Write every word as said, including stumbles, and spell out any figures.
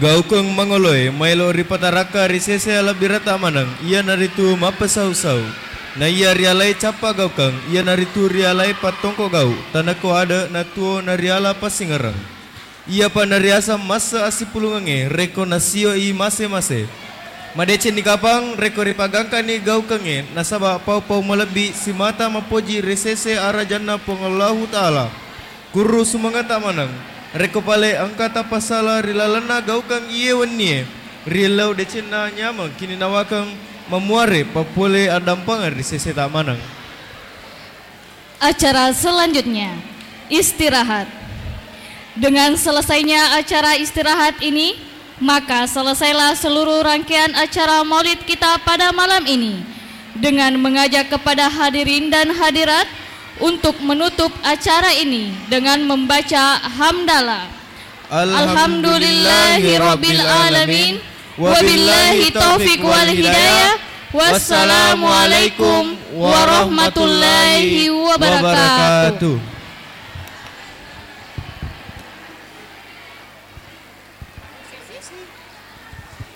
Gaukeng mangoloe maelo ripatarakka ri sese alabbirata maneng, iyanaritu mappesau-sau. Na iya rialai cappa gaukeng, iyanaritu rialai pattongko gau, tanakko ade na tuo nariala passingereng. Iyapa nariaseng masse assipulungengnge rekko nasioi mase-mase. Madecenni kapang rekko ripagangkani gaukengnge nasaba pau-pau malebbi simata mappoji ri sese arajanna Puang Allahu Ta'ala. Kurru sumangata maneng, rekko pale engka tappasala ri lalenna gaukeng iye wennie, riellau decenna nyameng kininawakeng mamuare pappole addampengeng ri seseta maneng. Acara selanjutnya, istirahat. Dengan selesainya acara istirahat ini, maka selesailah seluruh rangkaian acara Maulid kita pada malam ini, dengan mengajak kepada hadirin dan hadirat untuk menutup acara ini dengan membaca hamdalah. Alhamdulillahirabbil alamin. Wabillahi taufiq wal hidayah. Wassalamualaikum warahmatullahi wabarakatuh.